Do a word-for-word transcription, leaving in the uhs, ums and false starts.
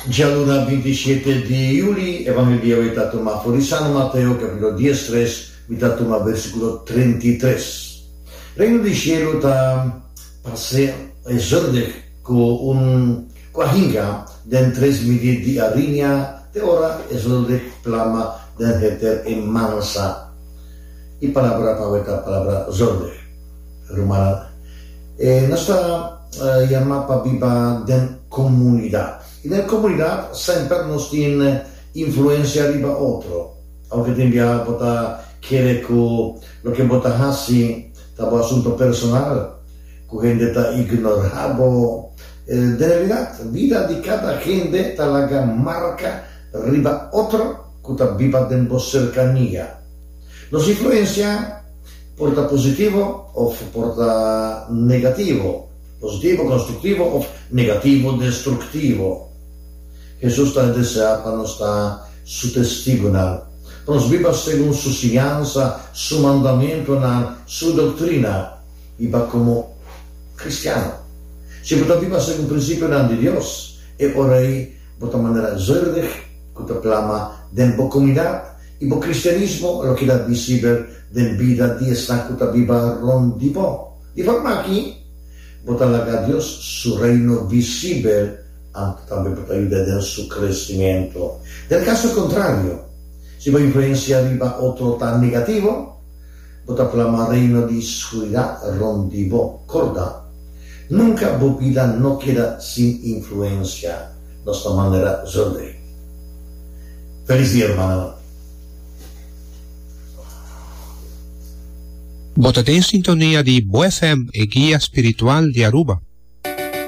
Djaluna binti i shete di yüli, Evangelio di awe ta tuma for di San Mateo kapítulo dies tres, mi ta tuma versíkulo trinta i tres. Reino di shelu ta parse e zurdeg ku un ku a hinka den tres midi di ariña te ora e zurdeg plama den henter e mansa. E palabra pa awe ta palabra zurdeg. Rumannan, e nos ta yama pa biba den komunidat. I den komunidat semper nos tin influensia riba otro. Aunke tin biaha bo ta kere ku loke bo ta hasi ta bo asunto personal, ku hende ta ignorá bo. Den realidat, bida di kada hende ta laga marka riba otro ku ta biba den bo serkania. Nos influensia por ta positivo òf por ta negativo, positivo, konstruktivo òf negativo, destruktivo. Hesus ta deseá pa nos ta su testigunan, pa nos biba segun su siñansa, su mandamentunan, su doktrina, biba komo kristiano. Si bo ta biba segun prinsipionan di Dios, e ora ei bo ta manera zurdeg ku ta plama den bo komunidat i bo kristianismo lo keda visibel den bida di esnan ku ta biba rònt di bo. Di forma aki, bo ta laga Dios su Reino visibel, anto tambe bo ta yuda den su kresimentu. Den kaso kontrario, si bo influensia riba otro ta negativo, bo ta plama reino di skuridat rònt di bo. Kòrda, nunka bo bida no keda sin influensia. Nos ta manera zòrde. Felis dia, rumannan. Bo ta den sintonia di Bo F M, e guia spiritual di Aruba.